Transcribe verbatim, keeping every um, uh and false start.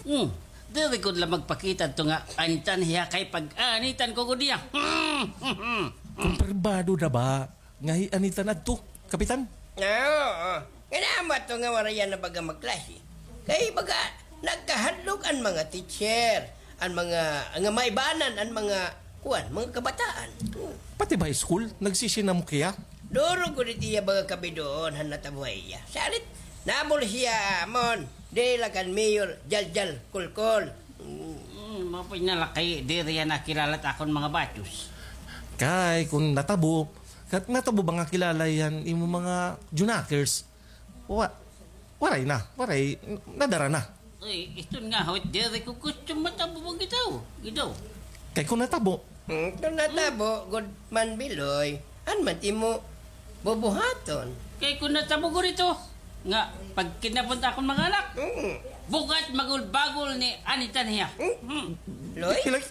Hmm. Diri ko la magpakita adto nga anitan hiya kay pag-anitan ko gud hiya. Hmm. Kumpirmado na ba nga hi-anitan adto, Kapitan? Oo. Nga naman to nga waray na baga magklase. Kay baga nagkahadlok an mga teacher, an mga, nga maibanan an mga kuan, mga kabataan. Hmm. Pati ba school, nagsisinamok hiya? Duro gud it iya baga kabidoon han natabo ha iya. Salit, nabol siya amon, diri la kan Mayor Jaljal Kulkol. Hmm. Hmm, mao pa na la kay diri hiya nakilala it akon mga batyos. Kay kun natabo, kat-, natabo ba nga kilala hiya han imo mga Junakers? Wa-, waray na, waray, nadara na. Ay, iton nga, hawit diri ko gusto matabo ba gitaw, gitaw. Kay kun natabo. Hmm, kun natabo, gud man, Biloy, an man imo bubuhaton. Kay kun natabo gud ito, nga pagkidnapon ta akon mga anak. Mm. Bugat magul-bagol ni anitan hiya. Mm. Hmm. Loy? Ilay,